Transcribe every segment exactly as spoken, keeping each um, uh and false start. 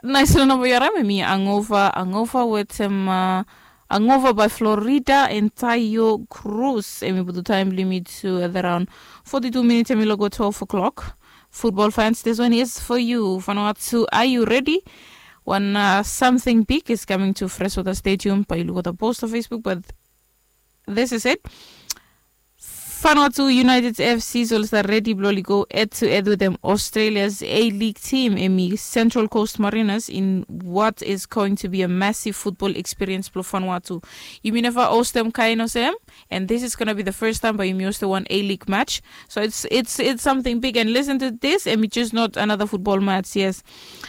Naes long namba yu harim em i angova angova wetem angova bai florida and taio cruz em i putum taem blong yumi tu at araon foti tu minit em i logo twelve o'clock. Futbol fans, this one is for you. Fanua tu, are you ready? Wan samting big is kaming tu freswata stadium bai yu luk ota post long facebook but this is it. Fanua tu united fc so oli stap redi blong oli go ed tu ed wetem australia's a league team em i central coast mariners in what is going to be a massive football experience blong fanua tu. Yumi neva ostem kaen olsem and this is gonna be the first time bai yumi ostem wan a league match. So it's it's it's something big and listen to this em i just not another football match, yes.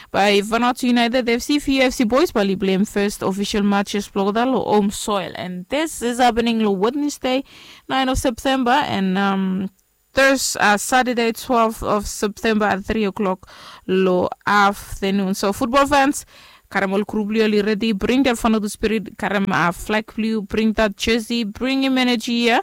Bai fanua tu united fc few fc boys bai oli pleim first official matches blong olgeta long home soil and this is happening long wednesday nine of september and um, Thurs uh, saturday twelve of september at three o'clock long afternoon. So football fans, karem ol group blong yu oli redi bring that fanadu spirit, karem uh, flag blong yu, bring that jersey, bring him energy here.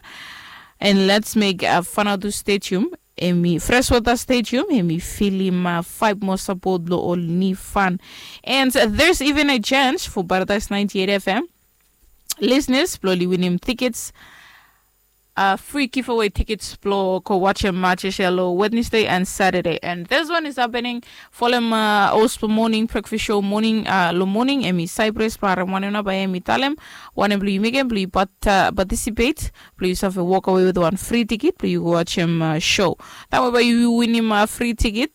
And let's make uh, fanadu stadium emi freshwater stadium emi filim uh, five more support blong ol ni fan. And uh, there's even a chance for paradise ninety-eight fm listeners blong oli winim tickets uh, free giveaway tickets blong go watch a match ya long wednesday and saturday and this one is happening. Folem uh, ospo morning breakfast show morning uh, long morning emi cyprus blong arem wanem na bai emi talem wanem blong yu mekem blong yu participate blong yu save walk away with one free ticket blong yu go watch em uh, show. Taem bai yu winim uh, free ticket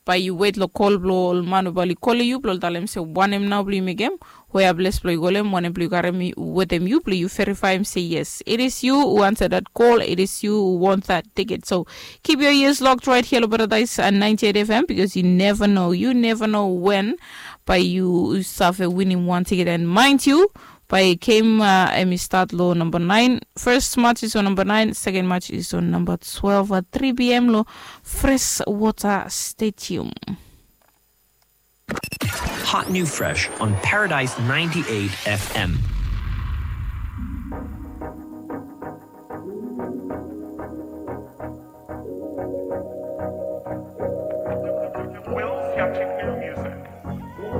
bai yu wet long kol blong ol man we bai oli kolem yu blong ol talem se wanem nao blong yu mekem, wea ples blong yu kolem wanem blong yu karem wetem yu blong yu verifaem se yes it is yu who answer that call, it is yu who want that ticket. So keep your ears locked right here long paradise and ninety-eight fm because you never know, you never know when bai yu save winim wan ticket and mind you bai game uh, em i start lo number nine. First match is on number nine, second match is on number twelve at three p.m. lo fresh water stadium. Hot new fresh on paradise ninety-eight fm.